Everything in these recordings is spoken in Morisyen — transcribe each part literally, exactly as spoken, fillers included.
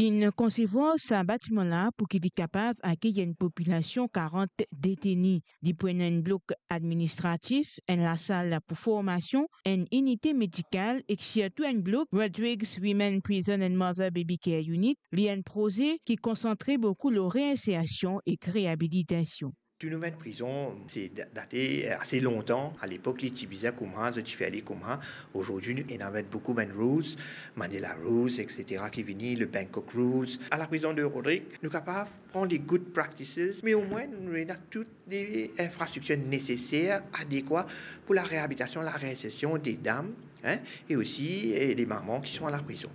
Inn konsevwar sa batiman la pou ki li kapav akey enn popilasion karant deteni. Li pou ena enn blok administratif, enn lasal pou formasion, enn inite medikal ek sirtou enn blok Rodrigues Women Prison and Mother Baby Care Unit. Li enn proze ki konsantre boukou lor reinsersion ek reabilitasion. Tou nou met prizon, se da-, date ase lontan. Alepok, li ti bizin kouma, zot ti fer li kouma. Ozordi, nou ena met boukou bann rules, Mandela Rules, et cetera ki vini, le Bangkok Rules. A la prizon de Rodrigues, nou kapav pran les good practices, me omwin nou ena tout les infrastriktir neseser, adekwa pou la reabilitasion, la reinsersion de dam, hein, e osi, eh, de manman ki son a la prizon.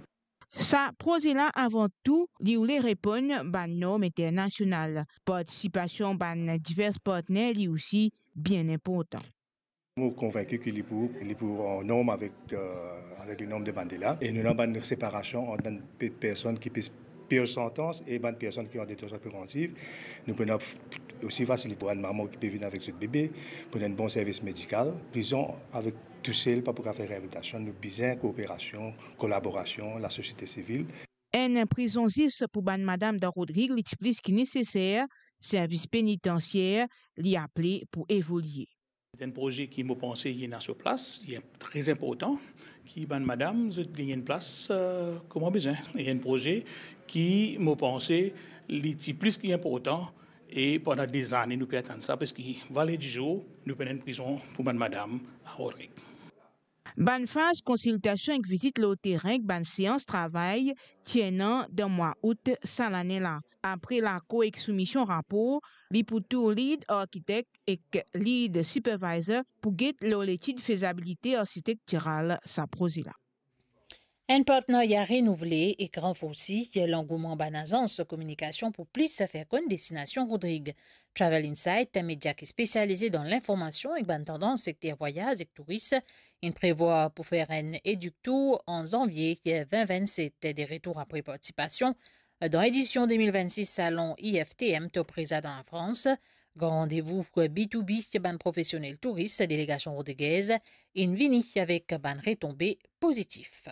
Sa proze la, avan tou, li oule reponn bann norm internasional. Partisipasion bann divers partner, li osi, bien inportan. Mo konvinki ki li pou, li pou an norm avek, eh, avek le norm de Mandela. E nou ena bann separasion ant bann pe-, personn ki pe pir santans e bann personn ki an detansion prevantiv. Nou pou ena f-, osi fasilite bann manman ki pe vinn avek zot bebe, pou ena enn bon servis medikal. Prizon avek tousel pa pou kapav fer reabilitasion, nou bizin kooperasion, kolaborasion lasosiete sivil. Enn prizon zis pou bann madam dan Rodrig, li ti plis ki neseser, servis penitensier, li aple pou evolie. Se enn proze ki mo panse li ena so plas, li tre inportan, ki bann madam, zot gagn enn plas, eh, kouma bizin. E enn proze ki mo panse li ti plis ki inportan, e pandan dezane nou pe atann sa, parski valer dizour, nou pou ena enn prizon pou bann madam a Rodrig. Bann faz konsiltasion ek vizit lor terin ek bann seans travay ti ena dan mwa Out sa lane la. Apre lakor ek soumision rapor, li pou tou lead arkitek ek lead supervisor pou get lor letid fezabilite arsitektiral sa proze la. Enn partenarya renouvle ek ranforsi langouman bann azans kominikasion pou plis fer konn destinasion Rodrig. Travel Insight, media ki spesialize dan linformasion ek bann tandans sekter vwayaz ek touris, inn prevwar pou fer enn Educ Tour an zanvie vin vinn set, de retour apre partisipasion dan edision de mil vinn sis Salon I F T M Top Reza dan Lafrans. Gran randevou B to B bann profesionel touris delegasion rodrigez inn vini avek bann retonbe pozitif.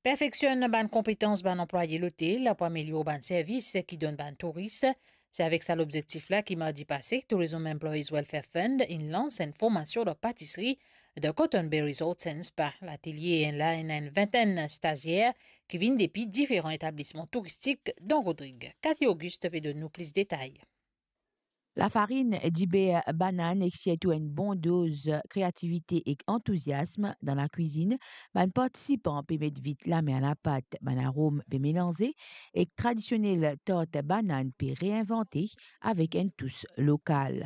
Perfeksionn bann konpetans bann anplwaye lotel pou amelior bann servis ki donn bann touris. Se avek sa lobzektif la ki mardi pase, Tourism Employees Welfare Fund inn lans enn formasion dan patisri dan Cotton Bay Resort Sands Spa. Latelie la ena enn vintenn stazier ki vinn depi diferan etablisman touristik dan Rodrig. Cathy Auguste pe donn nou plis detay. Lafarinn, diber, banann ek sirtou enn bon doz kreativite ek antouziasm dan lakwizinn. Bann partisipan pe met vit lame a lapat, bann arom pe melanze ek tradisionel tart banann pe reinvante avek enn tous lokal.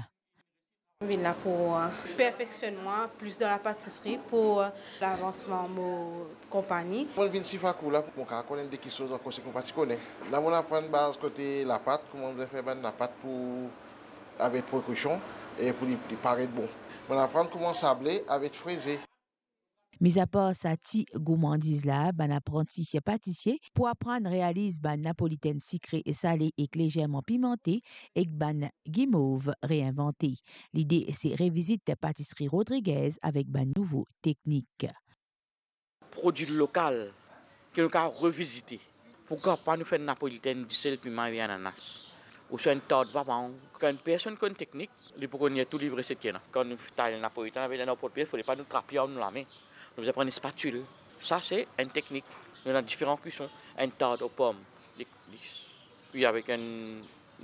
Mo vinn la pou, eh, perfeksionn mwa plis dan lapatisri pou, eh, lavansman mo konpagni. Mo vinn Sifakou la pou mo kapav konn enn de kiksoz ankor seki mo pa ti kone. La mo aprann baz kote lapat, kouma mo bizin fer bann lapat pou, avek prekausion e pou li, li paret bon. Mo aprann kouma sable avek freze. Mizapar sa ti goumandiz la, bann apranti patisie pou aprann realiz bann napolitenn sikre e sale ek lezerman pimante ek bann gimov reinvante. Lide se revizit patisri Rodrigez avek bann nouvo teknik. Prodwi lokal ke nou kapav revizite. Poukwa pa nou fer napolitenn disel, piman e ananas, ouswa enn tart vamang? Kan enn personn konn teknik, li pou konn tou liv reset ki ena. Kan nou tay napolitenn avek enn port pie, fode pa nou trap li ar nou lame. Nou bizin pran enn spatil. Sa se enn teknik. Nou ena diferan kwison. Enn tart o pom, li, li kwi avek enn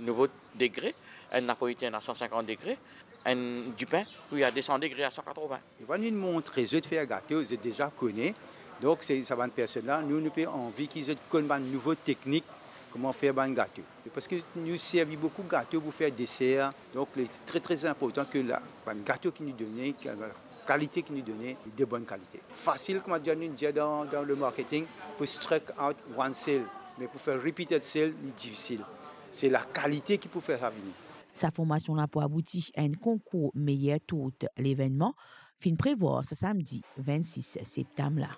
nouvo degre, enn napolitenn a san sinkant degre, enn dipin kwi a de san degre, a san katrovin. Nou pa vinn montre zot fer gato, zot deza kone. Donk, se sa bann personn la, nou, nou pe anvi ki zot konn bann nouvo teknik, kouma fer bann gato. Parski nou servi boukou gato pou fer deser, donk, li tre, tre inportan ke la, bann gato ki nou done, ki, kalite ki nou done, de bonn kalite. Fasil, kouma dir, nou dir dan, dan le marketing, pou strike out one sale, me pou fer repeated sale, li difisil. Se lakalite ki pou fer sa vini. Sa formasion la pou abouti a enn konkour meyer tourt. Levennman finn prevwar sa samdi vinn sis septam la.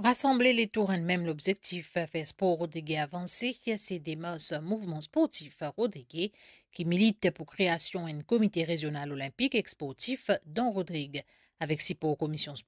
Rasanble letour enn mem lobzektif, fer spor Rodrig avanse, se demars Mouvman Sportif Rodrig ki milit pou kreasion enn komite rezional olinpik ek sportif dan Rodrig, avek sipor Komision Spor